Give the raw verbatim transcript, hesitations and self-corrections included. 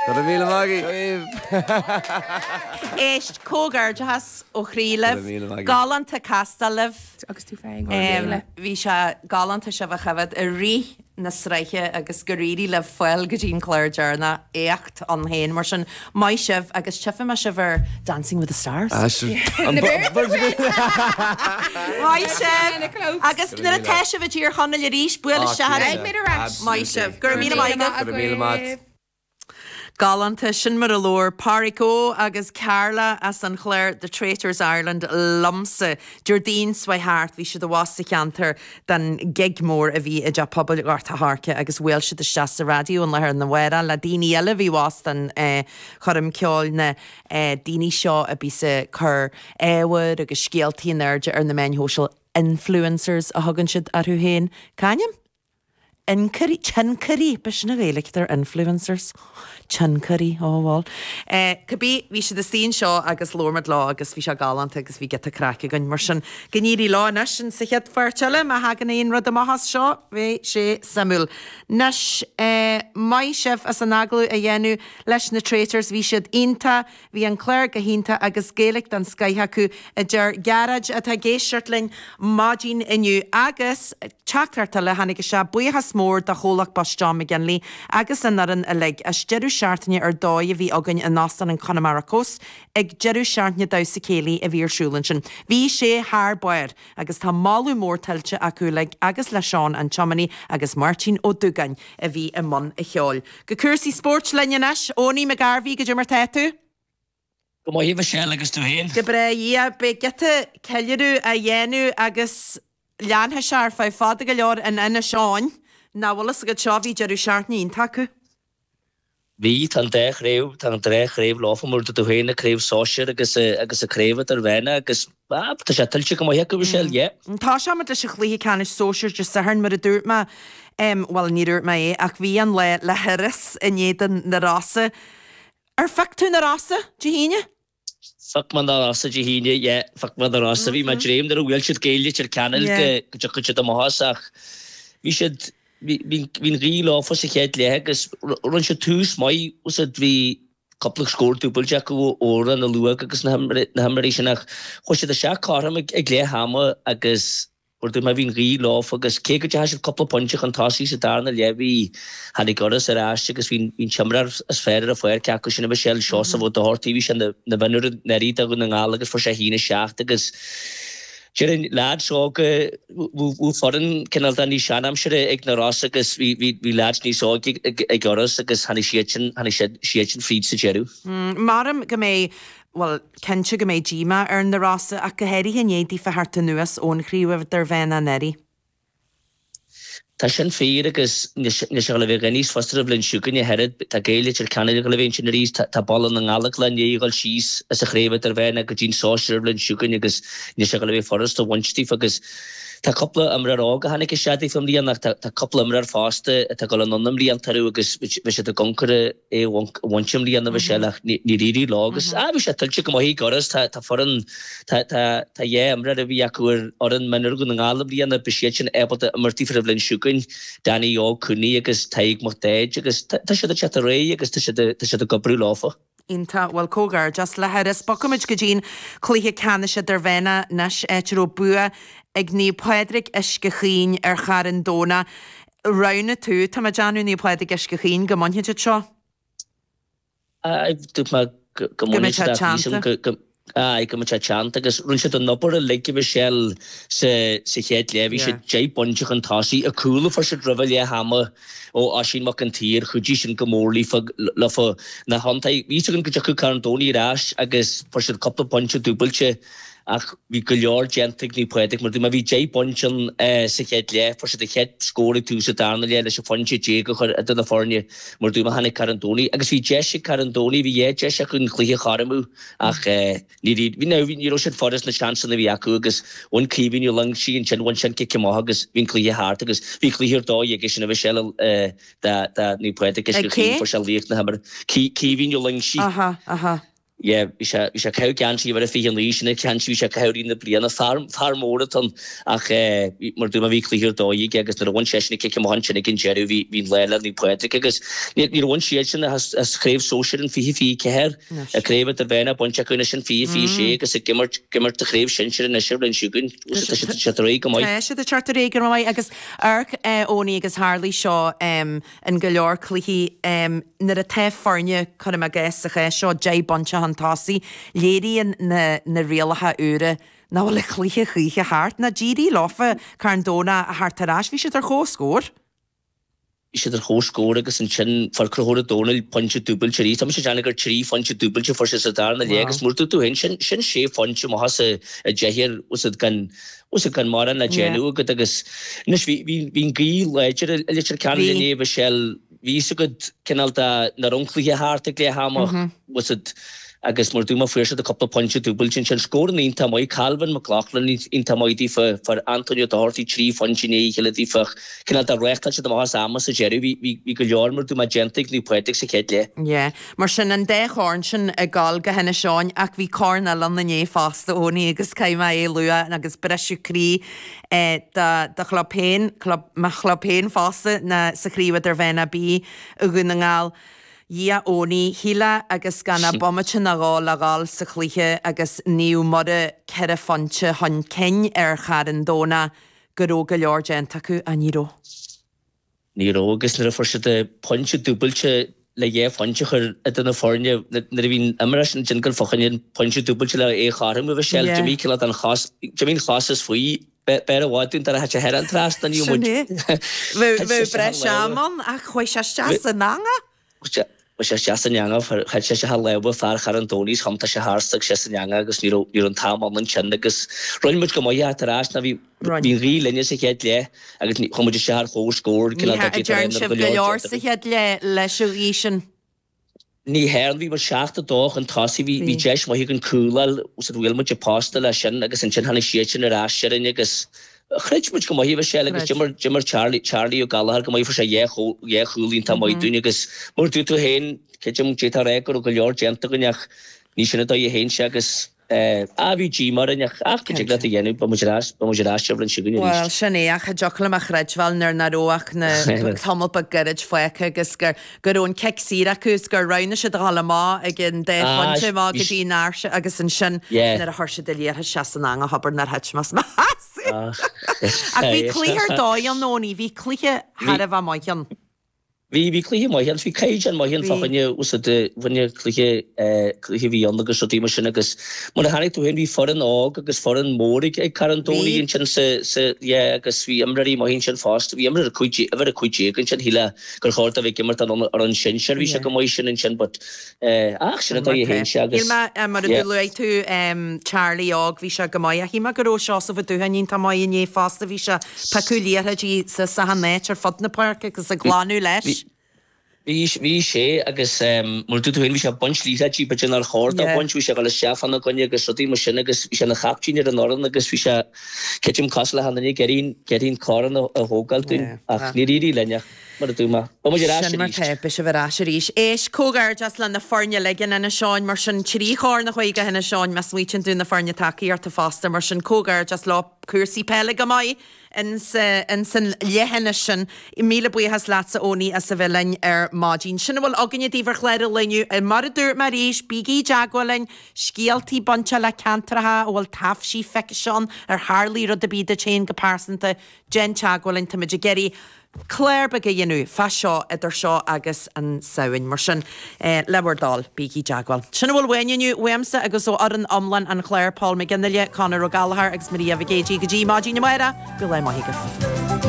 Go raibh míle maith agaibh. Éist, comhghairdeachas ó chroí libh. Go raibh míle maith agaibh. Galánta castáil libh. Agus tú féin, go raibh míle. Bhí sé galánta sibh a choimhéad i rith na sraithe agus gur éirigh libh fáil go dtí an clár deireanach, éacht ann féin. Mar sin, maith sibh agus tchífidh mé sibh ar Dancing with the Stars. Maith sibh! Agus nuair atá sibh i dTír Chonaill arís, buail isteach orainn. Beidh muid ar ais. Maith sibh. Go raibh míle maith agat. Go raibh míle maith. Galánta, sin mar a labhair Páraic Ó agus Carla as an chlár The Traitors Ireland liomsa. Déardaoin seo thart bhí siad abhus sa cheantar don gig mór a bhí i dTeach Pobail Ghort a' Choirce agus bhuail siad isteach sa raidió an lá arna mhárach le daoine eile a bhí abhus don choirm ceoil, na daoine seo a bíos ag cur ábhair agus scéaltaí in airde ar na meáin shóisialta, influencers a thugann siad orthu féin. C'ainm? Tionchairí, tionchairí, b'shin an Ghaeilge ar influencers. Tionchairí, ó bhuel. Cibé, bhí siad istigh anseo agus labhair muid leo agus bhí sé galánta agus bhí giota craic againn. Mar sin, go n-éirí leo anois in sa chéad pháirt eile, má thagann aon rud amach as seo, bheidh sé suimiúil. Anois, maith sibh as an agallamh a dhéanamh leis na Traitors, bhí siad iontach. Bhí an clár go hiontach agus Gaeilge den scoith acu, a deir Gearóid atá ag éisteacht linn maidin inniu. Agus teachtaireacht eile a tháinig isteach, buíochas mór do chomhlacht Bus John McGinley agus an fhoireann uilig as deireadh seachtaine ar dóigh a bhí againn in Óstán an Connemara Coast ag deireadh seachtaine damhsa céilí a bhí ar siúl ansin. Bhí sé thar barr agus tá moladh mór tuillte acu uilig agus le Seán an tiománaí agus Máirtín Ó Dúgáin a bhí i mbun a cheoil. Go cúrsaí spóirt linn anois. Owenie McGarvey, goidé mar tá tú? Go maith a Mhichelle agus tú féin? Go breá, yeah. Beidh giota ceiliúradh á dhéanamh agus leanfaidh sé ar feadh fada go leor in Inis Eoghain. Nach bhfuil fhios agat seo, bhí deireadh seachtaine iontach acu. Bhí, tá an dá chraobh, tá an dá chraobh leofa mar dúirt tú féin, an craobh sóisir agus agus an craobh idirmheánach agus ah tá sé tuillte go maith acu Michelle, yeah. Tosóidh muid leis an chluiche ceannais sóisir Dé Sathairn mar a dúirt mé, em bhuel ní dúirt mé é ach bhí an lá le hIorras in éadan na Rosa. Ar phioc tú na Rosa Dé hAoine? Phioc mé na Rosa Dé hAoine, yeah, phioc mé na Rosa. Bhí mé ag dréim nuair a bhuail siad Gaeil Leitir Ceanainn go dtiocfadh siad amach as ach bhí siad, bhí, bhí an ghaoth leofa sa chéad leath agus rinne siad tús maith, bhí siad, bhí cúpla scór dúbailte acu ó Odhrán na Luath agus na himreoirí sin ach chuaigh siad isteach cothrom ag leath ama agus Mar a dúirt mé, bhí an ghaoth leofa agus cé go dteachaigh siad cúpla pointe chun tosaigh sa darna leath bhí, tháinig Iorras ar ais agus bhí an t-imreoir is fearr ar an pháirc acu sin, a Mhichelle, Seosamh Ó Dochartaigh, bhí sé ina mhionúr anuraidh do Dhún na nGall agus fuair sé a haon a seacht agus déarfainn leaids óga, bhí foireann cineál de níos seanaimseartha ag na Rosa agus bhí bhí leaids níos óige ag Iorras agus tháinig siadsan, tháinig siadsan fríd sa deireadh. Maram go mbeidh Bhuel, cinnte go mbeidh díomá ar na Rosa ach go háirithe i ndiaidh daofa theacht anuas ón chraobh idirmheánach anuraidh. Tá sin fíor agus níl sé ag dul a bheith níos fusa an bhliain seo chugainn ach oiread. Tá Gaeil Leitir Ceanainn ag dul a bheith ansin arís, tá Baile na nGall ag dul i ndiaidh a dhul síos as an chraobh idirmheánach go dtí'n sóisear an bhliain seo chugainn agus níl sé ag dul a bheith furast a bhaint daofa agus tá cúpla imreoir óg a tháinig isteach daofa i mbliana ach tá cúpla imreoir fosta atá ag dul anonn i mblianta orthu agus beidh siad ag ioncar é a bhaint i mbliana Michelle ach níor éirigh leo agus ah bhí sé tuillte go maith ag Iorras tá tá foireann tá tá tá dhá imreoir a bhí acu ar fhoireann mionúir Dhún na nGall i mbliana beidh siad sin ábalta imirt daofa an bhliain seo chugainn Danny Óg Cooney agus Tadhg Mac Daid agus tá tá siad ag teacht ar aghaidh agus tá siad tá siad ag oibriú leofa. Iontach, bhuel comhghairdeas le hIorras. Bogfaimid go dtí'n cluiche ceannais idirmheánach anois, áit a raibh bua ag Naomh Pádraig Uisce Chaoin ar Charn Domhnach. Roghnaigh tú, tá mé ag déanamh, Naomh Pádraig Uisce Chaoin, go mbainfidh siad seo. Aye, dúirt mé go mbainfidh siad ach bhí sin go, aye, go mbeadh sé teannta agus rinne siad an obair uilig a Michelle sa sa chéad leath, bhí siad deich bpointe chun tosaigh, an cúl a fuair siad roimh leath ama ó Oisín Mac an tSaoir, chuidigh sin go mór leofa, leofa na hiontaigh, bhí fhios againn go dtiocfadh Carn Domhnaigh ar ais agus fuair siad cúpla pointe dúbailte. Ach bhí go leor déanta ag Naomh Pádraig mar dúirt mé, bhí deich bpointe ann sa chéad leath, fuair siad an chéad scór ag tús an darna leath leis an phointe déag a chur idir na foirne mar dúirt mé, tháinig Carn Domhnaigh agus bhí deis ag Carn Domhnaigh, bhí dhá deis acu an cluiche a chothromú ach ní bhí, now ní raibh siad furast na seansanna a bhí acu agus bhain Caoimhín Ó Loingsigh ansin, bhain sé an cic amach agus bhí an cluiche thart agus bhí cluiche ar dóigh aige sin a Mhichelle do Naomh Pádraig Uisce Ag cé? Chaoin, fuair sé laoch na himeartha, Caoimhín Ó Loingsigh. Aha, aha. Yeah, bhí sé bhí sé ag caitheamh geansaí uimhir a fiche naoi, sin an geansaí bhí sé ag caitheamh i rith na bliana. Fear fear mór atá ann ach eh, mar dúirt mé bhí cluiche ar dóigh aige agus nuair a bhain seisean an cic amach ansin ag an deireadh bhí bhí an lá le Naomh Pádraig agus ní níor bhain siadsan as as craobh sóisir in fiche fiche ceathair, an craobh idirmheánach bainte acu anois in fiche fiche sé agus ag imirt ag imirt do chraobh sinsir anois ar bhliain seo chugainn. Tá siad tá siad ar aghaidh go maith. Tá siad ag teacht ar aghaidh go maith agus amharc eh, Eoiní agus tharlaigh seo em, in go leor cluichí em, nuair atá foirne cuirim i gcás sa chás seo deich bpointe chun tosaigh, léiríonn na na rialacha úra nach bhfuil an cluiche choíche thart. Ná d'éirigh leofa Carn Domhnach a theacht ar ais, bhí siad ar comhscór. Bhí siad ar comhscór agus ansin fuair Conchúr Ó Domhnaill pointe dúbailte arís. Tá mise ag déanamh gur trí phointe dúbailte a fuair sé sa darna leath agus mar a dúirt tú féin, sin sin sé phointe amach as a deich bhfuil a fhios agat gan bhfuil a fhios agat gan mórán le déanamh agat agus anois bhí bhí bhí an ghaoth láidir i Leitir Ceanainn inné Michelle, bhí fhios agat cineál de nach raibh an cluiche thart ag leath ama, bhfuil a fhios agat agus mar a dúirt mé fuair siad cúpla pointe dúbailte ansin. Scóranna iontach maith, Calvin McLaughlin iontach maith daofa, fuair Antonio Doherty trí phointe i ndiaidh a chéile daofa ach cineál de reáchtáil siad amach as ama sa deireadh. Bhí, bhí, bhí go leor mar a dúirt mé déanta ag Naomh Pádraig sa chéad leath. Yeah. Mar sin an dá chorn sin ag gabháil go hInis Eoghain ach bhí corn eile ann inné fosta Eoiní agus caithfidh mé é a lua agus briseadh croí eh, do, do chlub féin, club, mo chlub féin fosta na, sa Chraobh Idirmheánach B i Dhún na nGall. Dhia Eoiní, shílfeá agus gan ach bomaite nó dhó le dhul sa chluiche agus Naomh Muire ceithre phointe chun cinn ar Charn Domhnach go raibh go leor déanta acu, ach ní raibh. Ní raibh agus nuair a fuair siad pointe dúbailte le dhá phointe a chur idir na foirne, nuair a bhí an imirt sin ag dul fá choinne an pointe dúbailte le é a chothromú, bhí sé, d'imigh cineál den chos, d'imigh an chos as faoi. B'fhearr i bhfad dúinn dá raibh sé thar an trasnán, ní Sin é. Bheadh breis ama ann ach chuaigh sé isteach san eangach. Chuaigh sé isteach san eangach, thit sé isteach i lámha fear Charn Domhnaigh is thiontaigh sé thart agus sé san eangach agus ní raibh ní raibh an t-am ann ansin agus rinne muid go maith ach tar éis ná bhí bhí an ghaoth linne sa chéad leath agus chuaigh muid isteach ar chomhscór Ní dhearn sibh go leor sa chéad leath leis an ghaoth sin. Ní dhearn, bhí muid seacht a dó chun tosaigh, bhí bhí deis maith againn cúl a fháil, so bhuail muid an posta leis sin agus ansin tháinig siadsan ar ais orainn agus chreid muid go maith a Mhichelle agus d'imir d'imir Charlie Charlie Ó Gallchóir go maith, fuair sé dhá chúl dhá chúl iontach maith dúinn agus mar a dúirt tú féin, creidim d'fhéadfá a rá go raibh go leor déanta againn ach ní sin an dóigh a théann sé agus Ah, bhí díomá orainn ach ach cad dtig leat a dhéanamh, beidh muid ar ais, beidh muid ar ais an bhliain seo chugainn Bhuel, arís. sin é, ach cha dtiocfadh liom a chreidbheáil nuair nach raibh ach na tamall beag gairid fágtha agus gur go raibh an cic saor acu is gur roghnaigh siad a dhul amach ag an dá Ah, phointe amach bhí go dtí an áirse agus ansin Yeah. nuair a chuir siad an liathróid isteach san eangach abair nár thit mé as mo sheasamh. Ah, Ach bhí cluiche ar dóigh ann, Eoiní, bhí cluiche Bhí. thar a bheith maith ann. Bhí, bhí cluiche maith ann, bhí caighdeán maith ann fá choinne úsáid bhainne cluiche, cluiche a bhí ann agus rudaí mar sin agus mar a chonaic tú féin bhí foireann óg agus foireann mór ag, ag Carn Domhnach ansin sa, sa, yeah agus bhí imreoirí maith ansin fosta, bhí imreoir a cúig déag, uimhir a cúig déag ansin, shílfeá gur chóir dó bheith ag imirt ar an sinsear, bhí sé go maith sin ansin but eh, ach sin an dóigh a théann sé agus Shíl mé, mar a yeah. luaigh tú Charlie óg, bhí sé go maith ach shíl mé go raibh Seosamh Ó Dúcháin iontach maith inné fosta, bhí sé piocadh liathróidí sa sa áit ar fud na páirce agus ag glanadh leis. Bhí, bhí sé agus mar a dúirt tú féin bhí sé ag baint liathróidí b'fhéidir nár chóir dó baint, bhí sé ag dul isteach fána gcoinne agus rudaí mar sin agus bhí sé ina chaiptín ar an fhoireann agus bhí sé, creidim cosúil le haon duine ag iarraidh, ag iarraidh an corn a thógáil dúinn ach níor éirigh linn ach mar a dúirt mé, beidh muid ar ais Sin mar arís. tá, beidh sibh ar ais arís. Éist, comhghairdeas le na foirne uilig in Inis Eoghain, mar sin trí chorn a chuaigh go hInis Eoghain, má smaoitíonn tú na foirne tacaíochta fosta, mar sin comhghairdeas leo, cúrsaí peile go maith ins an leithinis sin. Míle buíochas leatsa Eoiní as a bheith linn ar maidin. Sin a bhfuil againne daoibh ar chlár an lae inniu. Mar a dúirt mé arís, bígí i dteagmháil linn, scéaltaí bainte le ceantracha a bhfuil taibhsí feicthe ann, ar tharlaigh rud ar bith duit féin go pearsanta, déan teagmháil linn, táimid ag iarraidh clár beag a dhéanamh fá seo idir seo agus an Samhain. Mar sin, le bhur dtoil, bígí i dteagmháil. Sin a bhfuil uainn inniu, uaimse agus ó fhoireann iomlán an chláir, Paul McGinley, Conor Ó Gallchóir agus Maria Mhic Géidigh. Go dtí maidin amárach, go raibh maith agaibh.